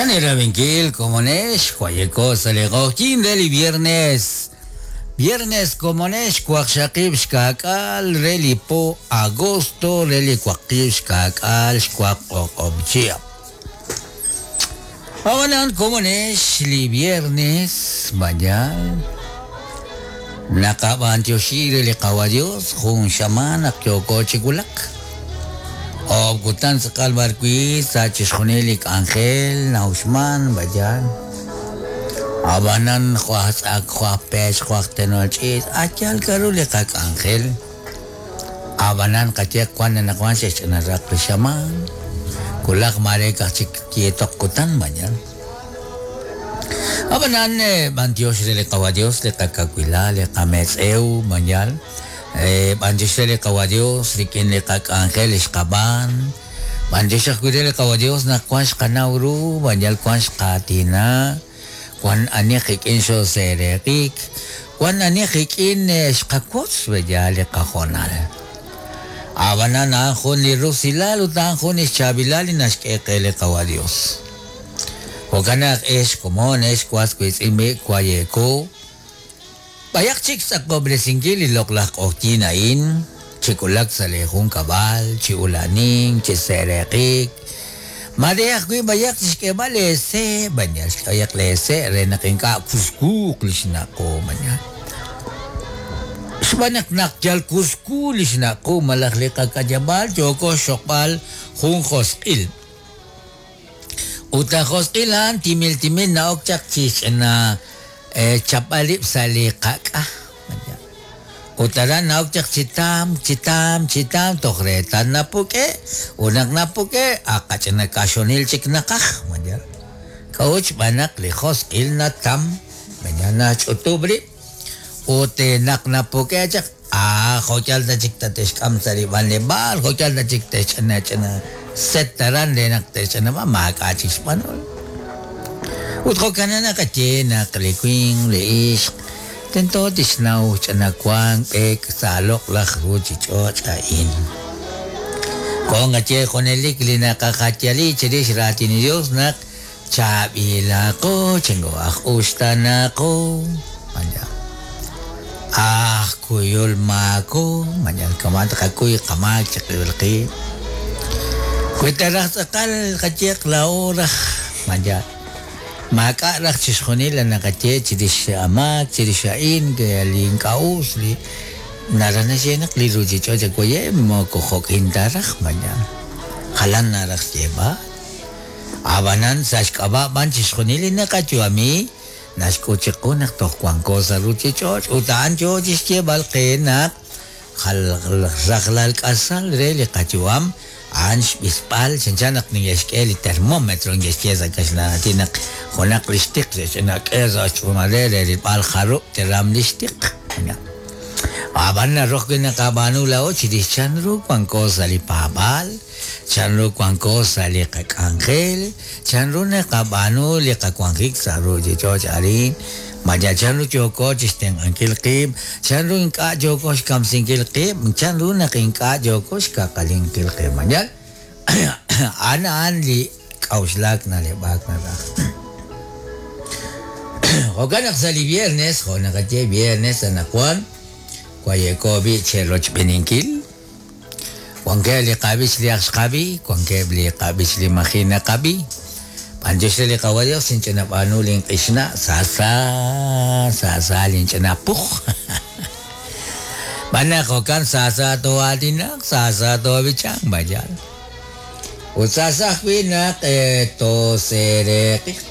Chan eerab'inkil komonex, wayeko sa' li q'oqyink re li viernes. Viernes komonex waqxaqib' xka'k'aal re li po agosto re li waqib' xka'k'aal xwaq o'q'ob' chihab'. Ab'anan komonex li viernes mañal naqab'antioxi re li Qawa' Dios jun xamaan naq yooko chi wulak. Oob' kutan tz'aqal b'ar wi' sa' chixjunil li k'anjel na'uxman b'ayal. Ab'anan jo' aj tz'ak, jo' aj pech, jo' aj tenol ch'iich', a' yaal k'a'ru li qak'anjel. Ab'anan qaye wan anaqwan xe'xch'ina raq li xamaan, wulaj maare ka'aj chik yeetoq kutan b'ayal. Ab'anan b'antiox re li Qawa' Dios li qakawilal, li qametz'ew b'ayal. B'antiox re li Qawa' Dios rik'in li qak'anjel li xqab'aan. B'antiox ajwi' re li Qawa' Dios naq wan xqanaw ru, b'anyal wan xqaatina, wan ani qik'in xooseeraq'ik, wan ani qik'in xqawotz b'eyal li qahoonal. A'b'anan a'an jun li rusilal ut a'an jun li xchaab'ilal li naxk'e qe li Qawa' Dios. Jo'kan naq ex komon, ex was wiitz'in b'i' waye'ko, B'ayaq chik xtz'aqob'resinkil li loq'laj q'oqyink a'in, chi wulak sa' lee junkab'al, chi ula'anink, chi se'reqik. Maare ajwi' b'ayaq chixk'eeb'al eese', b'ayaq xk'ayaq lee se' re naq ink'a' kuskuuq li xnaq' qu, b'ayaq. Xb'aan naq naq yal kusku li xnaq' qu malaj li qak'ayab'aal yooko xxoqb'al jun josq'il. Ut laj josq'il a'an timil timil na'ok chaq chi xch'ina chapb'al rib' sa' li qak'a. Ut aran na'ok chaq chi tamk, chi tamk, chi tamk toj reetal napuk'e'. Ut naq napuk'e', ak qach'ina kaxonil chik naqaj. K'a'ut? Xb'aan naq li josq'il natam, nach'utub' rib'. Ut naq napuk'e' chaq, Ah, jo' yal ta chik tate'xk'am sa' li b'anleb'aal, jo' yal ta chik te'xch'ina ch'ina set aran re naq te'xch'inab'a, maak'a' chik xb'anol. Ut jo'kan naqaye naq li winq, li ixq, tento tixnaw ch'ina wank b'eek sa' loq'laj ruuchich'och' a'in. Jo' nqaye junelik li naqajayali chirix raatin li Dios naq Chaab'ilaqo, chingo aj uxtaanaqo, mañal aj kuyul maako, mañal kama' taqakuy qamaak chiqib'il qib'. Wi ta raj tz'aqal qayeq laa'o raj, mañal maak'a' raj chixjunil li naqaye chirix amaak, chirix a'in, li ink'a' us, li naraj naxye naq li ruchich'och' waye' moko jo'kin ta raj, mañal jalan naraj xyeeb'al. Ab'anan, sa' xk'ab'a' b'an chixjunil li naqayu'ami, naxk'ut chiqu naq toj wanko sa' ruuchich'och' ut a'an yoo chixyeeb'al qe naq rajlal k'asal re li qayu'am a'an xb'isb'al chanchan naq neke'xk'e li termómetro neke'xye sa' kaxlan aatin naq junaq li xtiq xe'xch'inak'e sa' xtz'uumal re re rilb'al jarub' teram li xtiq. Ab'an naru ajwi' naqab'aanu laa'o chirix chanru wanko sa' li paab'aal. Chanru wanko sa' li qak'anjel? Chanru naqab'aanu li qawanjik sa' ruuchich'och' arin? Ma yal chanru yooko chi xtenq'ankil qib'? Chanru ink'a' yooko xkamsinkil qib'? Chanru naq ink'a' yooko xkaqalinkil qib'? Ma yal a'an a'an li k'a'uxlaak na'leb'aak naraj. Jo'kan naq sa' li viernes, jo' naqaye viernes anaqwan, waye'ko b'i' cherochb'eeninkil. Wankeb' li qab'ich li ak xqab'i, wankeb' li qab'ich li maji' naqab'i. B'antiox re li Qawa' Dios inch'ina b'aanu linq'ixna' sa sa, sa sa linch'ina puj. B'an naq jo'kan sa sa too'aatinaq, sa sa toob'ichanq, b'ayal. Ut sa sa ajwi' naq tooseeraq'iq.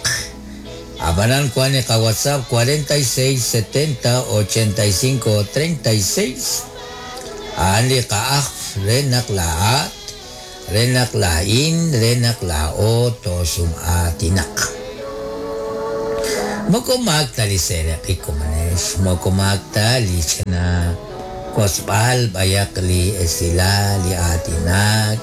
Ab'anan wank li qaWhatsApp 46 70 85 36. A'an li qa'ajf re naq laa'at, re naq laa'in, re naq laa'o toosum'aatinaq. Moko maak ta li seeraq'ik komonex, moko maak ta li ch'ina wotzb'al b'ayaq li esilal, li aatinak.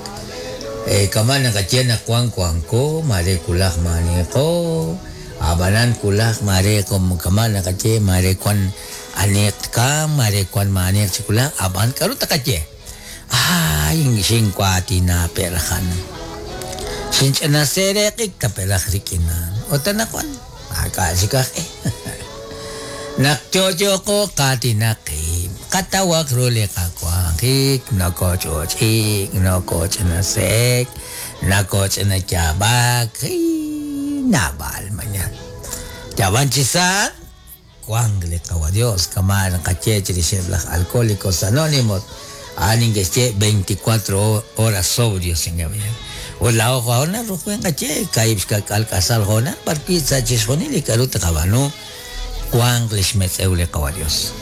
Kama' naqaye naq wan wanko, maare wulaj maaniqo, a'b'anan wulaj maare kama' naqaye maare wan Aniq tkamq, maare wank maaniq chi wulaj, ab'an k'aru tqaye? Aay, xinwaatina pe' raj a'an. Xinch'ina seeraq'ik tape'laj rik'in a'an. Ut anaqwan maak'a' chik aj e. Naq yo'yoqo qaatinaq qib', qatawaq ru li qawanjik, nokooch'och'ik, nokooch'inase'ek, nakooch'inayaab'ak, naab'al mañan. Yaab'an chi sa' wank li Qawa' Dios, kama' naqaye chirixeb' laj Alcohólicos Anónimos, a'an neke'xye 24 horas sobrios Ut laa'o jo'an ruk'in qaye kaahib' xka'k'aal k'asal hoonal b'arwi' sa' chixjunil li k'a'ru taqab'aanu wanq lix metz'ew li Qawa' Dios.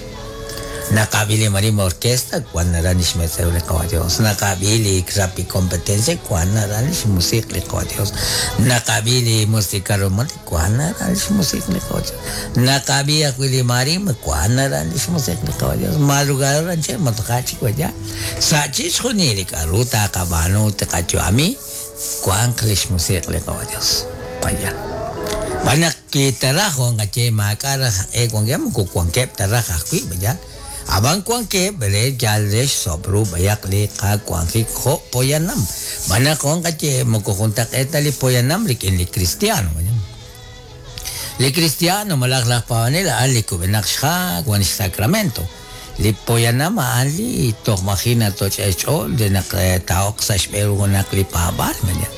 Naqab'i li marimba orquesta wan naran lix metz'ew li Qawa' Dios. Naqab'i li Rappi Competencia wan naran lix musiq' li Qawa' Dios. Naqab'i li Música Romántica wan naran lix musiq' li Qawa' Dios. Naqab'i ajwi' li marimba wan naran lix musiq' li Qawa' Dios. Madrugador anchal matqa chik waya. Sa' chixjunil li k'a'ru taqab'aanu taqayu'ami wanq lix musiq' li Qawa' Dios. Vaya. B'an naq kitaraj wan qaye maak'a' raj e wankeb' moko wankeb' ta raj ajwi' vaya. Ab'an wankeb' re yal re xsob' ru b'ayaq li qawanjik jo' poyanam. B'an naq wan qaye moko juntaq'eet ta li poyanam rik'in li cristiano. Vaya. Li cristiano malaj laj paab'anel a'an li kub'enaq xha' wan xsacramento. Li poyanam a'an li toj maji' natoch'e xch'ool re naq taa'ok sa' xb'e ru junaq li paab'aal. Vaya.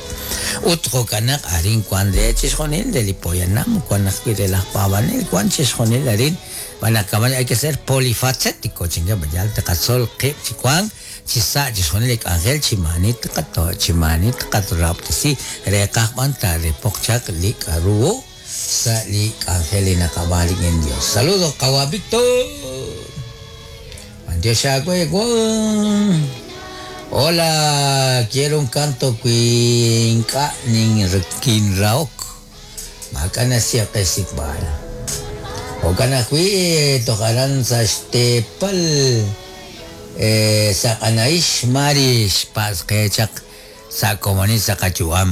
Ut jo'kan naq arin wan re chixjunil re li poyanam, wan ajwi' re laj paab'anel, wan chixjunil arin. B'an naq kama'an hay que ser polifacético, chinga, vaya, taqatzol qib' chi wank chi sa' chixjunil li k'anjel chi maani taqato' chi maani taqarahob'tesi reeqaj b'an taarepoq chaq li k'a'ru sa' li k'anjel li naqab'aan rik'in Dios. Saludos, Qawa' Víctor. B'antiox aawe, wan. Hola, quiero un canto wi ink'a' ninrahok. Maak'a' naxye qe xsik'b'al. Jo'kan ajwi' toj aran sa' xteepal Saq'anahix Mari xpatz' qe chaq sa' komonil sa' qayu'am.